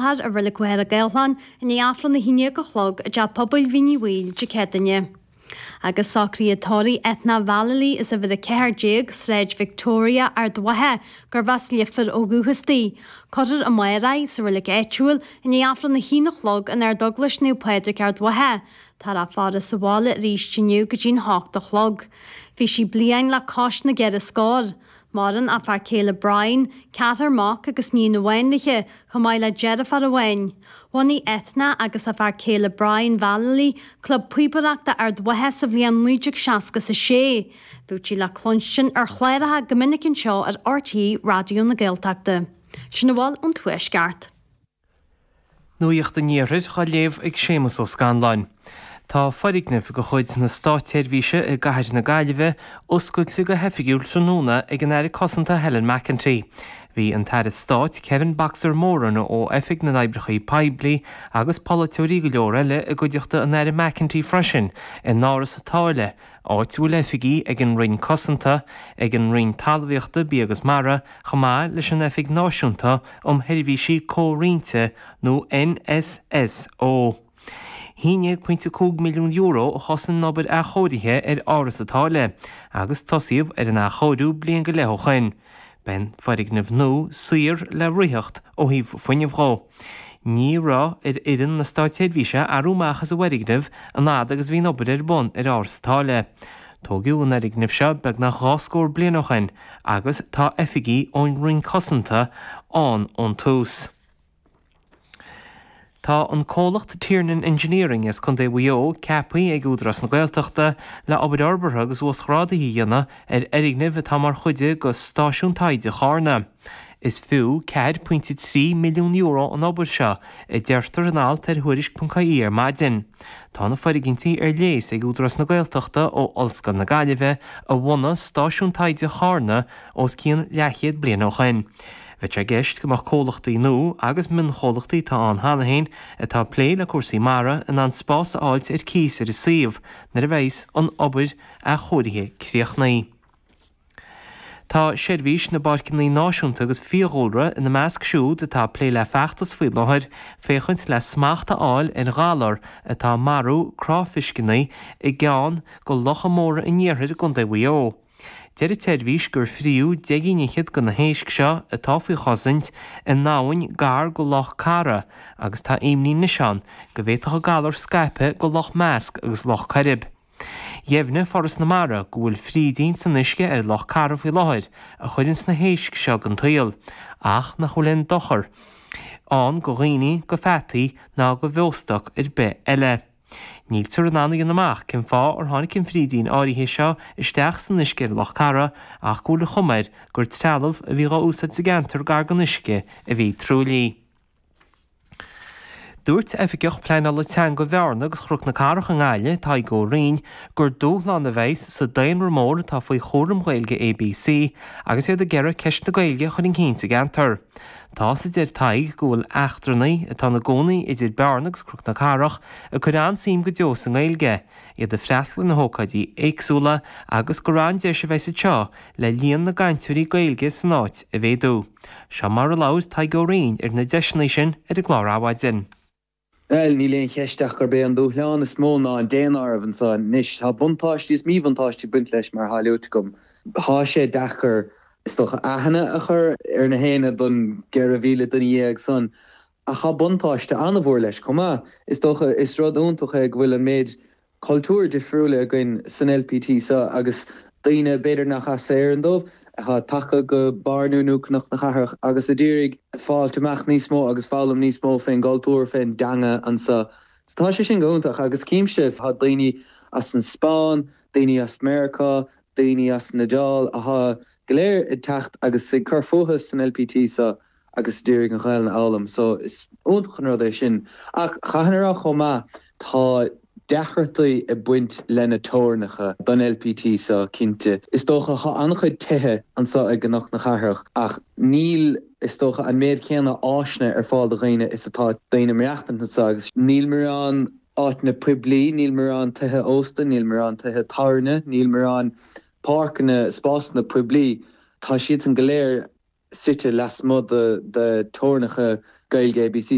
láthair i Reilig Mhachaire Gathlán i ndiaidh Aifreann 11 a chlog i dTeach Pobail Mhín Uí Bhaoill Dé Céadaoine. Agus socruithe tórraimh Ethna Vallely as uimhir 14, Sráid Victoria, Ard Mhacha, gurbh as Leifear ó dhúchas di. Cuirfear amárach í sa reilig áitiúil i ndiaidh Aifreann 1 a chlog in Ardeaglais Naomh Pádraig Ard Mhacha. Táthar á faire sa bhaile arís inniu go dtí'n hocht a chlog. Bhí sí bliain le cois na gceithre scór. Maireann a fear céile Brian, ceathrar mac agus níon amháin léi, chomh maith le deirfiúr amháin. Bhunaigh Ethna agus a fear céile Brian Vallely Club Píobaireachta Ard Mhacha sa bhliain 1966. Bhíodh sí le cluinstin ar chláracha go minic anseo ar RTÉ Raidió na Gaeltachta. Sin a bhfuil ón Tuaisceart. Nuacht an Iarthair á léamh ag Séamus Ó Scanláin. Tá foirgneamh de chuid na Státseirbhíse i gcathair na Gaillimhe oscailte go hoifigiúil tráthnóna ag an Aire Cosanta Helen McEntee. Bhí an tAire Stáit Kevin 'Boxer' Moran ó Oifig na nOibreacha Poiblí agus polaiteoirí go leor eile i gcuideachta an Aire McEntee freisin in Áras an tSáile, áit a bhfuil oifigí ag an Roinn Cosanta, ag an Roinn Talmhaíochta, Bia agus Mara, chomh maith leis an Oifig Náisiúnta um Sheirbhísí Comhroinnte nó NSSO. €11.5 milliún a chosain an obair athchóirithe ar Áras an tSáile agus tosaíodh ar an athchóiriú bliain go leith ó shoin. Beidh an foirgneamh nua saor le ritheacht ó thaobh fuinnimh dhó. Ní raibh ar fhoireann na státseirbhíse athrú amach as an bhfoirgneamh an fhad agus a bhí an obair ar bun ar Áras an tSáile. Tóigeadh an fhoirgneamh seo beagnach 2 scór bliain ó shoin agus tá oifigí ón Roinn Cosanta ann ón tús. Tá an comhlacht Tiernan Engineering as Contae Mhaigh Eo ceaptha ag Údarás na Gaeltachta le obair fhorbartha agus uasghrádaithe a dhéanamh ar fhoirgneamh atá mar chuid de Stáisiún Taighde Charna. Is fiú €4.3 milliún an obair seo, a deirtear in alt ar Thuairisc.ie ar maidin. Tá na foirgintí ar léas ag Údarás na Gaeltachta ó Ollscoil na Gaillimhe a bhunaigh Stáisiún Taighde Charna os cionn leathchéad bliain ó shoin. Bheadh sé i gceist go mbeadh comhlachtaí nua agus mionchomhlachtaí atá ann cheana féin atá ag plé le cúrsaí mara in ann spás a fháilt ar cíos ar an suíomh nuair a bheas an obair athchóirithe críochnaithe. Tá Seirbhís na bPáirceanna Náisiúnta agus Fiadhúlra ina measc siúd atá ag plé le feachtas faoi láthair féachaint le smacht a fháil ar ghalar atá ag marú cráifisceanna i gceann de locha móra an iarthair i gContae Mhaigh Eo. Deir an tseirbhís gur fríodh deich gcinn fhichead de na héisc seo atá faoi chosaint in abhainn gar go Loch Cara agus tá imní anois ann go bhféadfadh an galar scaipeadh go Loch Measc agus Loch Coirib. Dheimhnigh Foras na Mara go bhfuil frídín san uisce ar Loch Cara faoi láthair a chuireanns na héisc seo den tsaol, ach nach bhfuil aon dochar ann go dhaoine, go pheataí ná go bheostoc ar bith eile. Níltear in ann a dhéanamh amach cén fáth ar tháinig an frídín áirithe seo isteach san uisce ar Loch Cara ach go bhfuil an chuma air gur trealamh a bhí dhá úsáid sa gceantar gar don uisce a bhí truaillithe. Dúirt Oifigeach Pleanála Teanga Bhearna agus Chnoc na Cathrach i nGaillimh, Tadhg Ó Rinn, gur dúshlán a bheas sa daonra mór atá faoi chúram Ghaeilge ABC agus iad ag iarraidh ceist na Gaeilge a chur chun cinn sa gceantar. Tá's, a deir Tadhg, go bhfuil eachtrannaigh atá ina gcónaí idir Bearna agus Cnoc na Cathrach ag cur an-suim go deo sa nGaeilge, iad ag freastal ar na hócáidí éagsúla agus gur an-deis a bheas anseo le líon na gcainteoirí Gaeilge san áit a mhéadú. Seo mar a labhair Tadhg Ó Rinn ar na deiseanna sin ar an gclár Adhmhaidin. Bhuel, níl aon cheist ach gurb é an dúshlán is mó ná an daonáireamh anseo anois. Tá buntáistí is míbhuntáistí ag baint leis mar atá luaite agam. Tá sé deacair, is dócha, aithne a chur ar na héinne don 14,000 duine san ach tá buntáiste an-mhór leis chomh maith. Is dócha, is rud iontach é go bhfuil an méid cultúir difriúla againn san LPT seo agus daoine b'fhéidir nach as Éirinn dóibh, atá tagtha go Bearna nó Cnoc na Cathrach agus a d'iarraidh fáilt amach níos mó agus foghlaim níos mó fén gcultúr, fén dteanga anseo. So tá sé sin go hiontach agus címse, tá daoine as an Spáinn, daoine as Meiriceá, daoine as an Iodáil atá go léir ag teacht agus ag cur fúthu san LPT seo agus d'iarraidh an Ghaelainn a fhoghlaim so is iontach an rud é sin. Ach chaithfinn a rá chomh maith, tá deacrachtaí ag baint le na teorainneacha don LPT seo cinnte. Is dócha, tá an-chuid tithe anseo i gCnoc na Cathrach ach níl, is dócha, an méid céanna áiseanna ar fáil do dhaoine is atá daoine ag maireachtaint anseo agus níl mórán áiteanna poiblí, níl mórán tithe ósta, níl mórán tithe tábhairne, níl mórán páirceanna, spásanna poiblí. Tá siadsan go léir suite lasmuigh de teorainneacha Gaeilge ABC.